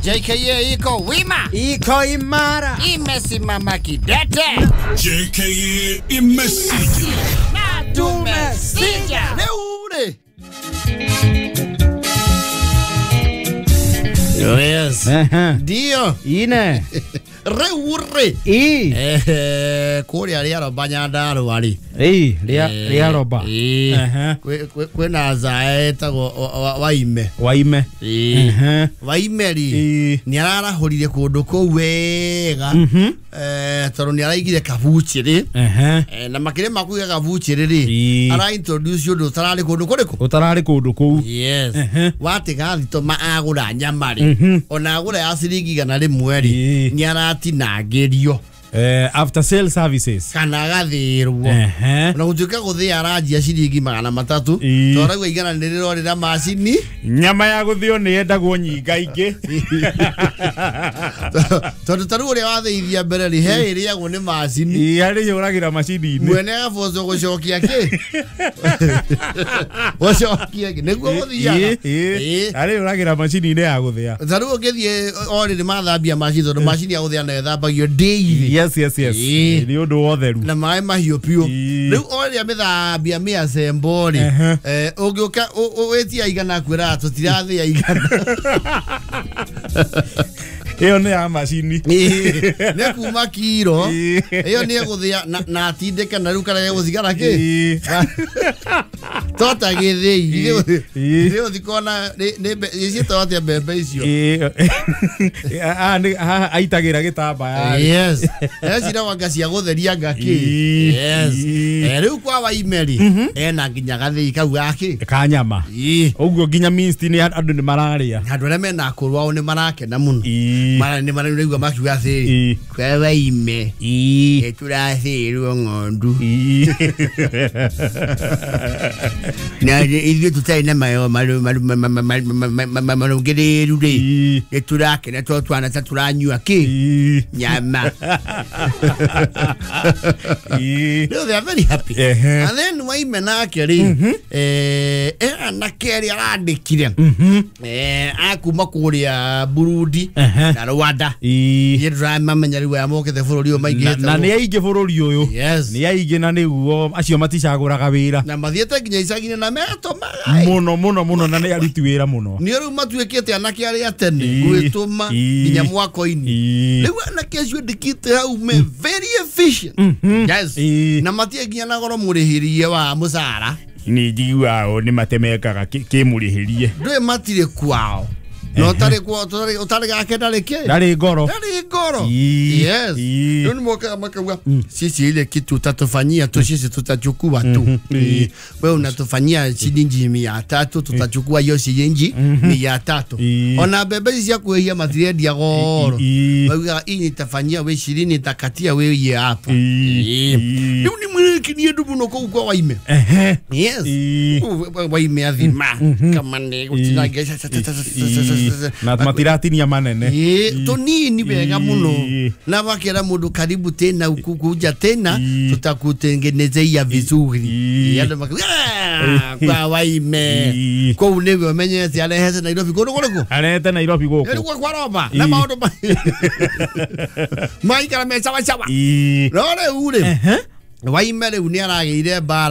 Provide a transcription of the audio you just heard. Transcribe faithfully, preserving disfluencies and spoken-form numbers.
J K A iko wima, iko imara, imesimama kidete. J K A imesija na tumesija leo. Yes. Ndio. Ine. Reure. I. Eh, kuria ria roba Nyandarua ri. Ii, ria ria roba. Eh. Kwina zae etagwo Waime. Waime. Eh. Waime ri. Ni ararahurire kundu kuu wega. Eh, tondu ni araigire kabuchiri. Eh. Na makire makuiga kabuchiri ri. Ara introduce undu utarari kundu kuriku? Utarari kundu kuu. Yes. Watiga thitoma agura nyama ri. Ona agura ya ciringi igana rimwe ri. Ni aratinangĩrio. Eh, after sale services kana gathirwo na gutuika guthia aranjia ciringi magana matatu toragwa igana ni rirorira macini nyama ya guthio ni yendagwo nyinga ingi tondu taru uria wathithia mbere ri he iriagwo ni macini ari yuragira macini-ini mwene agaboco gucokia ki gucokia ki niguo guthiaga ari yuragira macini-ini ya guthia taru ungithie oriri mathambia macini tondu macini ya guthia nayo ĩthambagio daily. Yes, yes, yes. Ni undu wotheru na maĩ mahiũ piũ. Rĩu oria mĩthambia mĩacembo rĩ, eh ũngĩũka wĩtia igana kwĩra tũtirathĩa igana. Ĩyo nĩ ya macini. Nĩ kuma kiro. Ĩyo nĩ egũthĩa na atindĩke na rĩu kana egũthigara kĩ? Tota gĩthĩi. Nĩ ũthikona nĩ ciĩtagwo atĩa mbembe icio? Haha aitagĩra gĩtambaya. Yes. Eciragwo cia gũtheria ngakĩ. Yes. Rĩu kwa Waime rĩ, ena nginya gathĩi kau gakĩ? Ka nyama. Ũguo nginya minced nĩ andũ nĩ mararĩa. Andũ arĩa mena akũrũ ao nĩ marakena mũno. Mara nĩ maraigua makiuga atĩrĩ, kwa Waime nĩ tũrathĩirwo ng'ondu. Na ithuĩ tũtarĩ na mayo marũngĩrĩru rĩ, nĩ tũrakena tondũ twana ta tũranyua kĩ? Nyama. No, they are very happy. And then Waime nake rĩ, eh anake arĩa arandĩkire eh akuma kũrĩa Burundi na Rwanda. Niĩ ndĩramamenya rĩu aya mokĩte bũrũri ũyũ maingĩhĩte na nĩ aingĩ bũrũri ũyũ. Nĩ aingĩ na nĩguo acio maticagũraga wĩra na mathiĩte nginya icagi-inĩ na metũmaga mũno mũno mũno na nĩ aruti wĩra mũno. Nĩ rĩu matuĩkĩte anake arĩa tene gwĩtũma nginya mwako-inĩ. Rĩu anake acio ndĩkĩte hau me very efficient. Yes. Na matie nginya na goro mũrĩhĩrie wa mũcara. Nĩ njiguaga o nĩ matemekaga kĩmũrĩhĩrie. Ndũĩ matirĩ kwao. No tarĩ kwao ũtarĩ gake ndarĩ kĩ? Ndarĩ ngoro. Ndarĩ ngoro. Yes. Rĩu nĩ mokaga makauga sisi ile kitu utatufanyia tu sisi tutachukua tu. Wewe unatufanyia shilingi mia tatu tutachukua hiyo shilingi mia tatu. Ona mbembe ici cia kwĩhia matirendia goro. Baugaga hii nitafanyia we ishirini nitakatia we iye hapa. Rĩu nĩ mwĩkirie andũ mũno kũu kwa Waime. Yes. Waime athima kama nĩ gũtinangia na matiratinia manene. Ĩ tũnini wega mũno na makera mũndũ karibu tena ukukuja tena tutakutengenezea vizuri. Andũ makauga kwa Waime kũu nĩwe ũmenyete arehete Nairobi kũndũ kũrĩkũ? Arehete Nairobi gũkũ. Rĩu kwa roba na maũndũ maikara me sawa sawa. No rĩu rĩ Waime rĩu nĩ aragĩire mbara